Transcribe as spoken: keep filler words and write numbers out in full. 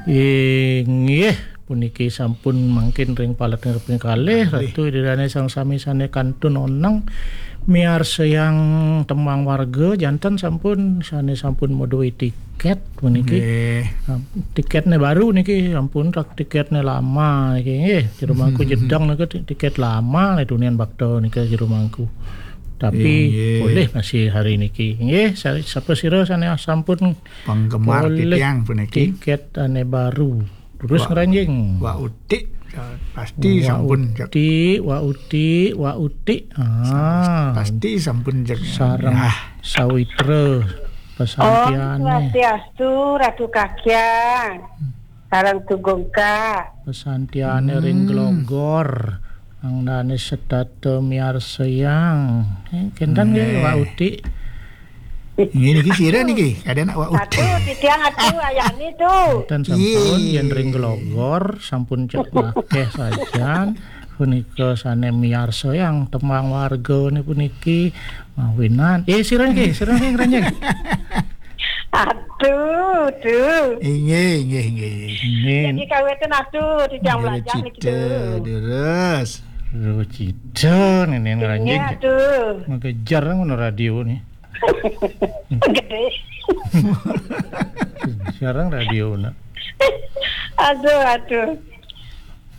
Inggih, puniki sampun mangkin ring palet kaping kalih, Ratu Ida Dane sareng sami sane kantun oneng miarsayang tembang warga, janten sampun sane sampun maduwe tiket puniki. Nggih. Nah, tiketne baru niki, sampun tak tiketne lama niki nggih. Jero mangku jedeng niki ti-, tiket lama le tunian bakta niki jero mangku. Tapi boleh masih hari niki. Nggih, sa-, sapa sira sane sampun Penggemar polih titiang puniki. Tiket ane baru. Terus Wak, ngranjing. Wak Utik, ya, pasti Wak sampun, Cak. Utik, Wak Utik, Wak Utik. Ah. Pasti sampun, Cak. Sareng Sawitra. Om Pesantiane. Swastiastu, Ratu Kakyang. Sareng Tugungka. Pesantiane ring Glogor. Angdane setata miarsayang. Eh, kenten nggih, Wak Utik. Nggih, niki sira niki, ada nak Wak Utik. Atu, titiang atu, ayani tu. Ten sampun, yen ring Glogor, sampun cek akeh sajan. Punika sane miarsayang tembang warga ni puniki mawinan. Eh, sira niki, sira niki ngranjing. Atu, tu. Inggih, inggih, inggih. Nggih. Jadi kawetan atu, titiang Nggih, belajar niki Cita, tu. Deres. Duh, Cita, nene ngranjing. Nggih, atu. Mengejar ngono radio ni. Gede. Jarang radio nak. Aduh, aduh.